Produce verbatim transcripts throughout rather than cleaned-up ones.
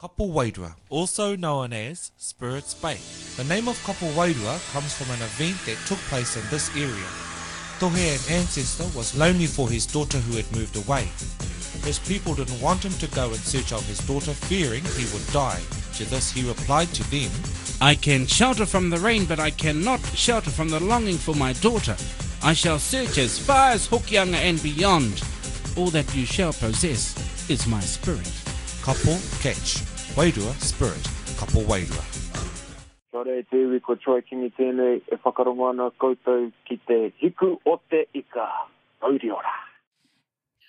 Kapowairua, also known as Spirits Bay. The name of Kapowairua comes from an event that took place in this area. Tohe, an ancestor, was lonely for his daughter who had moved away. His people didn't want him to go in search of his daughter, fearing he would die. To this he replied to them, I can shelter from the rain, but I cannot shelter from the longing for my daughter. I shall search as far as Hokianga and beyond. All that you shall possess is my spirit. Kapo, catch. Wairua, spirit. Kapo wairua. Kia ora e te iwi, ko Troy Kingi tēnei e whakarongo ana koutou ki te Hiku o te Ika. Mauri ora.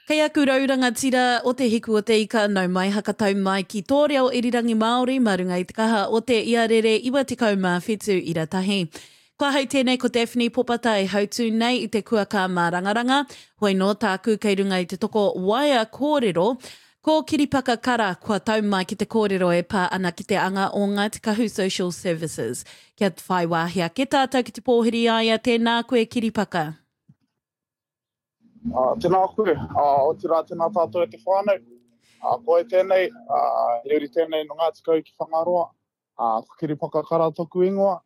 Kei aku rau rangatira o te Hiku o te Ika, nau mai hakatau mai ki tō reo irirangi Māori mā runga i te kaha o te iarere iwa tekau mā whitu ira tahi. Kua hau tēnei ko Daphne Popata e hautū nei i te kuaka mārangaranga, hoi nō tāku kei runga i te toko waea kōrero, ko Kiripaka Kara kua tau mai ki te kōrero e pā ana ki te anga o Ngāti Kahu Social Services. Kia whai wāhi ake tātou ki te pōhiri i a ia, tēnā koe Kiripaka. Uh, tēnā koe, uh, otirā tēnā tātou e te whānau. Uh, koe tēnei, uh, he uri tēnei no Ngāti Kahu ki Whangaroa. Uh, ko Kiripaka Kara toku ingoa.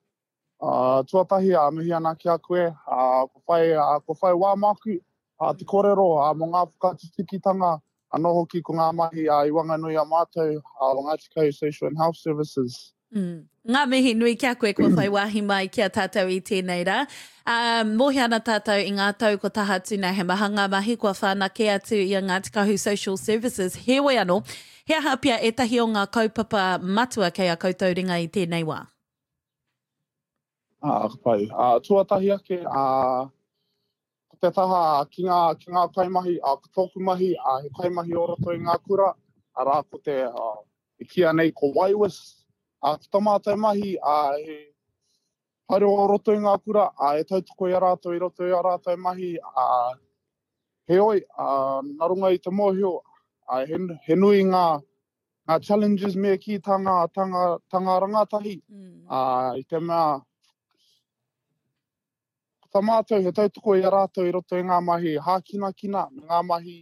Uh, tuatahi, uh, mihi ana ki a koe, uh, ko whai, uh, ko whai wā māku, uh, te kōrero, uh, mō ngā whakatutukitanga, anō hoki ko ngā mahi, uh, i wanganui a mātou, uh, o Ngāti Kahu Social and Health Services. Mm. Ngā mihi nui ki a koe kua whai wāhi mai ki a tātou i tēnei rā. Um, mōhio ana tātou i ngā tau ko taha atu nei, he maha ngā mahi kua whanake atu i a Ngāti Kahu Social Services. Heoi anō, he aha pea ētahi o ngā kaupapa matua kei a koutou ringa i tēnei wā? Ah, ka pai. Ah, tuatahi ake, ah, ko te taha ki ngā, ki ngā kaimahi, ah, ko tōku mahi, ah, he kaimahi o roto i ngā kura, arā ko te, ah, e kīia nei ko Waiwis. Ah, ko tā mātou mahi, ah, he haere o roto i ngā kura, ah, e tautoko i a rātou i roto i a rātou mahi, ah, heoi, ah, nā runga i te mōhio, ah, he, he nui ngā, ngā challenges me kī tā ngā, tā ngā, tā ngā rangatahi, Mm. ah, i te mea, ko tā mātou he tautoko i a rātou i roto i ngā mahi hākinakina, me ngā mahi,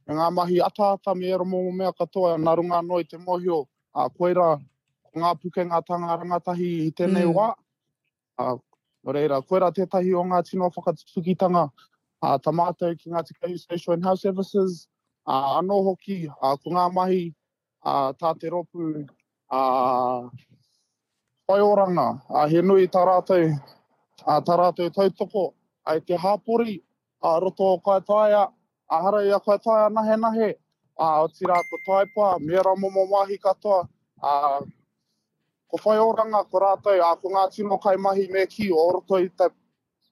me ngā mahi ataata me ērā momo mea katoa, nā runga anō i te mōhio, ā, koirā, ko ngā pukenga tā ngā rangatahi i tēnei Mm. wā. Ā, nō reira, koirā tētahi o ngā tino whakatutukitanga, ā, tā mātou ki Ngāti Kahu Social and Health Services, ā, anō hoki, ā, ko ngā mahi, ā, tā te rōpū, ā, whaioranga, ā, he nui tā rātou, ā, tā rātou tautoko, ā, i te hāpori, ā, roto o Kaitaia, ā, hara i a Kaitaia nahenahe, ā, otirā ko Taipa, me ērā momo wāhi katoa, ā, ko whaioranga, ko rātou, ā, ko ngā tino kaimahi me kī o roto i te,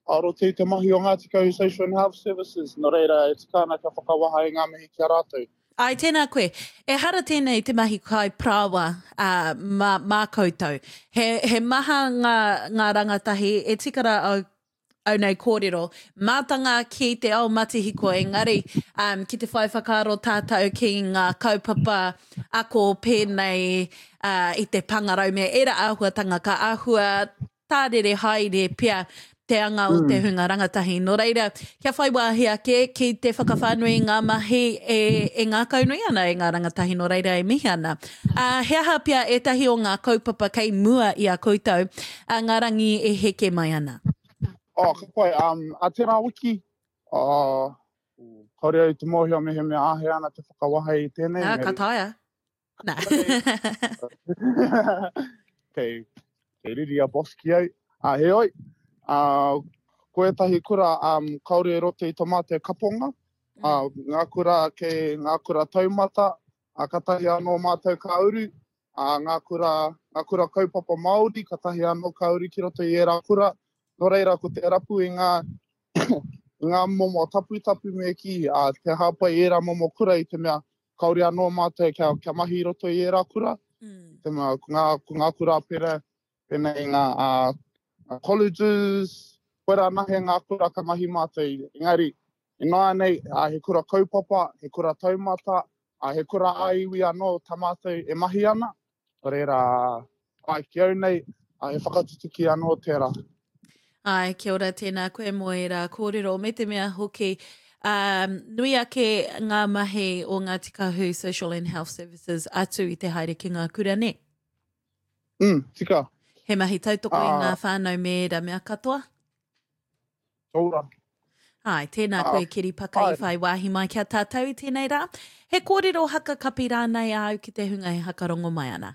o roto i te mahi o Ngāti Kahu Social and Health Services, nō reira e tika ana kia whakawaha i ngā mihi ki a rātou. Ai, tēnā koe. Ehara tēnei te mahi kai parāoa, ā, mā, mā koutou. He, he maha ngā, ngā rangatahi e tika rā au, au nei kōrero, mātanga ki te ao matihiko, engari, um, ki te whai whakaaro tātou ki ngā kaupapa ako pēnei, uh, i te pāngarau me ērā āhuatanga ka āhua tārere haere pea te anga o te hunga rangatahi. Nō reira, kia whai wāhi ake ki te whakawhānui i ngā mahi e, e ngākaunui ana e ngā rangatahi, nō reira e mihi ana. Uh, he aha pea ētahi o ngā kaupapa kei mua i a koutou, uh, ngā rangi e heke mai ana? Oh, ka pai. Um, a tērā wiki, uh, kāore au i te mōhio mehemea āhea ana te whakawaha i tēnei. Ah, ka taea. Nā. Kei, kei riri a boss ki au. Ah, heoi, ah, ko ētahi kura, um, kāore e roto i tō mātou kaponga. Ah, ngā kura kei ngā kura taumata, ah, katahi anō mātou ka uru. Ah, ngā kura, ngā kura kaupapa Māori, katahi anō ka uru ki roto i ērā kura. Nō reira, ko te rapu i ngā, i ngā momo taputapu me kī, ah, te hāpai i ērā momo kura i te mea kāore anō mātou kia, kia mahi i roto i ērā kura. Mm. Te mea, ko ngā, ko ngā kura pera, pēnei ngā, ah, ngā colleges, koirā anahe ngā kura ka mahi mātou. Engari, ināianei, ah, he kura kaupapa, he kura taumata, ah, he kura ā-iwi anō tā mātou e mahi ana. Nō reira, ai, ki au nei, ah, he whakatutuki anō tērā. Ai, kia ora, tēnā koe mō ērā kōrero, me te mea hoki, Um, nui ake ngā mahi o Ngāti Kahu Social and Health Services atu i te haere ki ngā kura, nē? Mm, tika. He mahi tautoko i ngā whānau me ērā mea katoa? Ora. Ai, tēnā koe Keri Paka i whai wāhi mai ki a tātou i tēnei rā. He kōrero haka kapi rānei āu ki te hunga e hakarongo mai ana?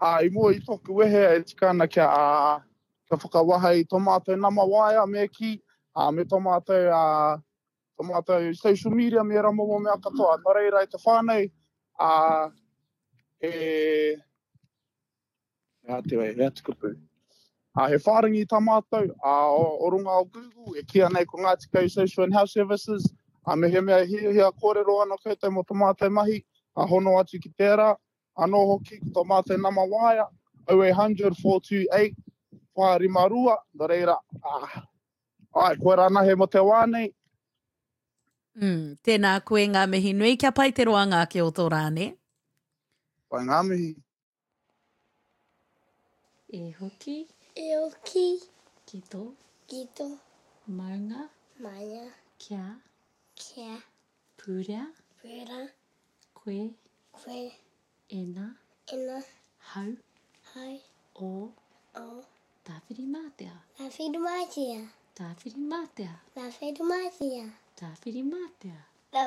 Ā, i mua i tōku wehe e tika ana kia, ā, kia whakawaha i tō mātou nama waea me kī, ā, me tō mātou, ā, tō mātou social media me ērā momo mea katoa. Nō reira i te whānau, ā, he, He aha te, he aha te kupu? Ā, he whārangi tā mātou, ā, o, o runga o Google, e kīia nei ko Ngāti Kahu Social and Health Services, ā, mehemea e hiahia kōrero ana koutou mō tā mātou mahi, ā, hono atu ki tērā, anō hoki ko tō mātou nama waea, oh eight hundred four two eight whā rima rua, nō reira, ā, āe, koirā anahe mō te wā nei. Mm, tēnā koe, ngā mihi nui, kia pai te roanga ake o tō rā, nē? Pai ngā mihi. E hoki. E hoki. Ki tō. Ki tō. Maunga. Maunga. Kia. Kia. Purea. Purea. Koe. Koe. Ena. Ena. Hau. Hau. O. O. Tāwhirimātea. Tāwhirimātea. Tāwhirimātea. Tāwhirimātea. Tāwhirimātea.